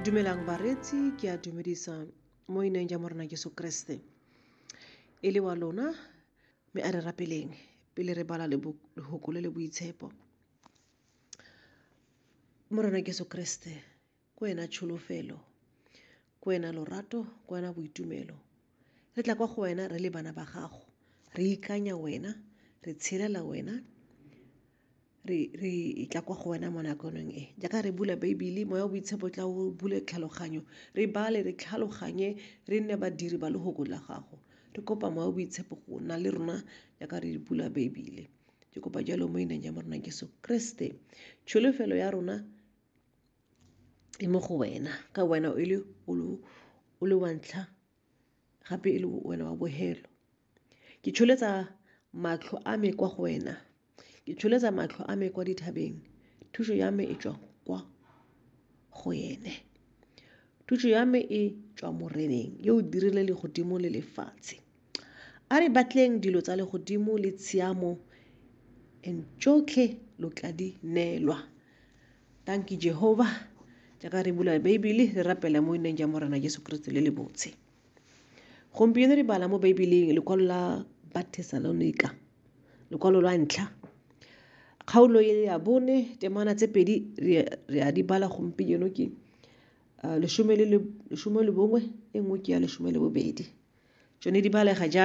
Dumelang bareetsi, ke a dumedisa mo ineng ja Morena Jesu Kriste. E le wa lona, mme a re rapeleng pele re bala lehoko le le boitshepo. Morena Jesu Kriste, ke wena tsholofelo, ke wena lorato, ke wena boitumelo. Re tla kwa go wena re le bana ba gago, re ikanya wena, re tshelela wena, re tla kwa go wena mo nakoneng e. Jaaka re bula Beibele, moya o boitshepo tla o bule tlhaloganyo, re bale, re tlhaloganye, re nne badiri ba lehoko la gago. Re kopa moya o boitshepo go nna le rona jaaka re bula Beibele. Ke kopa jalo mo ineng ya Morena Jesu Kriste. Tsholofelo ya rona e mo go wena, ka wena o le o le wa ntlha gape e le wena wa bohelo. Ke tsholetsa matlho a me kwa go wena, ke tsholetsa matlho a me kwa dithabeng, thuso ya me e tswa kwa go ene. Thuso ya me e tswa Moreneng yo o dirile legodimo le lefatshe. A re batleng dilo tsa legodimo le tshiamo, and tsotlhe lo tla di neelwa. Thank you Jehovah. Jaaka re bula Beibele re rapela mo ineng ja Morena Jesu Kriste le le botshe. Gompieno re bala mo Beibeleng lekwalo la Bathesalonika, lekwalo lwa ntlha, kgaolo e ya bone, temana tse pedi re a di bala gompieno ke 11, e nngwe ke ya 12. Tsone di balega jang?